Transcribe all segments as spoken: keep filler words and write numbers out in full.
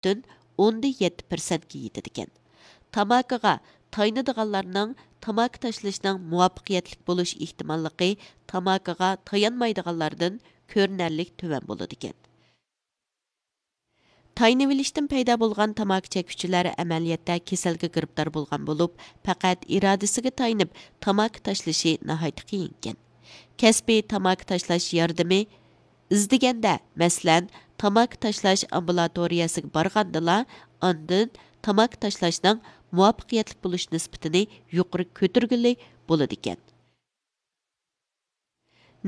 پۈتۈن ئوندىن يەتتە پىرسەنتكە يېتىدىكەن. تاماكىغا تايىنىدىغانلارنىڭ تاماكا تاشلىشىنىڭ مۇۋەپپەقىيەتلىك بولۇش ئېھتىماللىقى تاماكىغا تايانمايدىغانلاردىن كۆرۈنەرلىك تۆۋەن بولىدىكەن. تايىنىۋېلىشتىن پەيدا بولغان تاماكا چەككۈچىلەر ئەمەلىيەتتە كېسەلگە گىرىپتار بولغان بولۇپ، پەقەت ئىرادىسىگە تايىنىپ تاماكا تاشلىشى ناھايىتى قىيىنكەن. كەسپىي تاماكا تاشلاش ياردىمى ئىزدىگەندە، مەسىلەن، تاماكا تاشلاش ئامبۇلاتورىيەسىگە بارغاندىلا، ئاندىن تاماكا تاشلاشنىڭ مۇۋەپپەقىيەتلىك بولۇش نىسبىتىنى يۇقىرى كۆتۈرگىلى بولىدىكەن.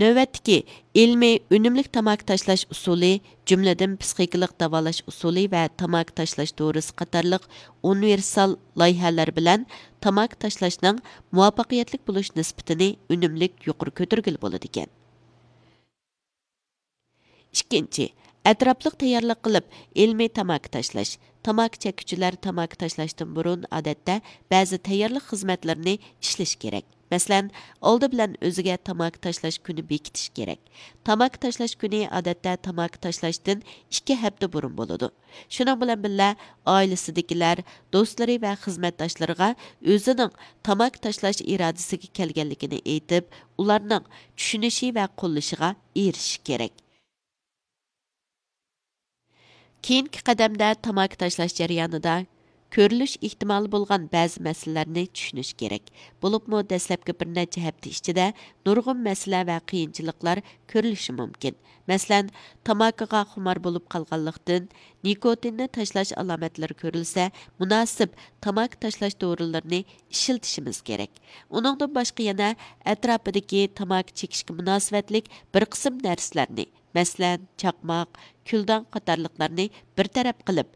نۆۋەتتىكى ئىلمىي ئۈنۈملۈك تاماكا تاشلاش ئۇسۇلى، جۈملىدىن پىسخىكىلىق داۋالاش ئۇسۇلى ۋە تاماكا تاشلاش دورىسى قاتارلىق ئۇنىۋېرسال لايىھەلەر بىلەن تاماكا تاشلاشنىڭ مۇۋەپپەقىيەتلىك بولۇش نىسبىتىنى ئۈنۈملۈك يۇقىرى كۆتۈرگىلى بولىدىكەن. ئىككىنچى، ئەتراپلىق تەييارلىق قىلىپ، ئىلمىي تاماكا تاشلاش. تاماكا چەككۈچىلەر تاماكا تاشلاشتىن بۇرۇن، ئادەتتە، بەزى تەييارلىق خىزمەتلىرىنى ئىشلىشى كېرەك. مەسىلەن، ئالدى بىلەن ئۆزىگە تاماكا تاشلاش كۈنى بېكىتىش كېرەك. تاماكا تاشلاش كۈنى، ئادەتتە، تاماكا تاشلاشتىن ئىككى ھەپتە بۇرۇن بولىدۇ. شۇنىڭ بىلەن بىللە، ئائىلىسىدىكىلەر، دوستلىرى ۋە خىزمەتداشلىرىغا ئۆزىنىڭ تاماكا تاشلاش ئىرادىسىگە كەلگەنلىكىنى ئېيتىپ، ئۇلارنىڭ چۈشىنىشى ۋە قوللىشىغا ئېرىشىش كېرەك. كېيىنكى قەدەمدە تاماكا تاشلاش جەريانىدا كۆرۈلۈش ئېھتىمالى بولغان بەزى مەسىلىلەرنى چۈشىنىش كېرەك. بولۇپمۇ دەسلەپكى بىر نەچچە ھەپتە ئىچىدە نۇرغۇن مەسىلە ۋە قىيىنچىلىقلار كۆرۈلۈشى مۇمكىن. مەسىلەن، تاماكىغا خۇمار بولۇپ قالغانلىقتىن، نىكوتىننى تاشلاش ئالامەتلىرى كۆرۈلسە، مۇناسىپ تاماكا تاشلاش دورىلىرىنى ئىشلىتىشىمىز كېرەك. ئۇنىڭدىن باشقا يەنە ئەتراپىدىكى تاماكا چېكىشكە مۇناسىۋەتلىك بىر قىسىم نەرسىلەرنى، مەسىلەن، چاقماق، كۈلدەڭ قاتارلىقلارنى بىر تەرەپ قىلىپ،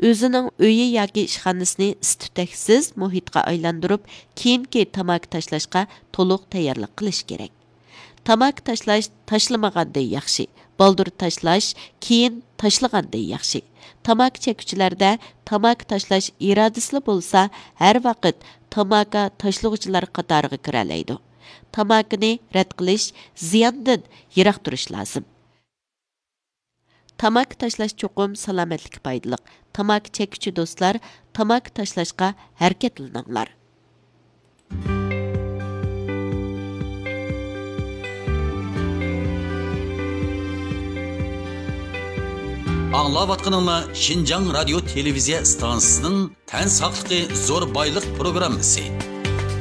ئۆزىنىڭ ئۆيى ياكى ئىشخانىسىنى ئىس-تۈتەكسىز مۇھىتقا ئايلاندۇرۇپ، كېيىنكى تاماكا تاشلاشقا تولۇق تەييارلىق قىلىش كېرەك. تاماكا تاشلاش تاشلىمىغاندىن ياخشى، بالدۇر تاشلاش كېيىن تاشلىغاندىن ياخشى. تاماكا چەككۈچىلەردە تاماكا تاشلاش ئىرادىسىلا بولسا، ھەر ۋاقىت تاماكا تاشلىغۇچىلار قاتارىغا كىرەلەيدۇ. تاماكىنى رەت قىلىش، زىياندىن يىراق تۇرۇش لازىم. تاماكا تاشلاش چوقۇم سالامەتلىككە پايدىلىق. تاماكا چەككۈچى دوستلار، تاماكا تاشلاشقا ھەرىكەتلىنىڭلار. ئاڭلاۋاتقىنىڭلار شىنجاڭ رادىيو تېلېۋىزىيە ئىستانسىسىنىڭ تەن ساقلىقى زور بايلىق پروگراممىسى.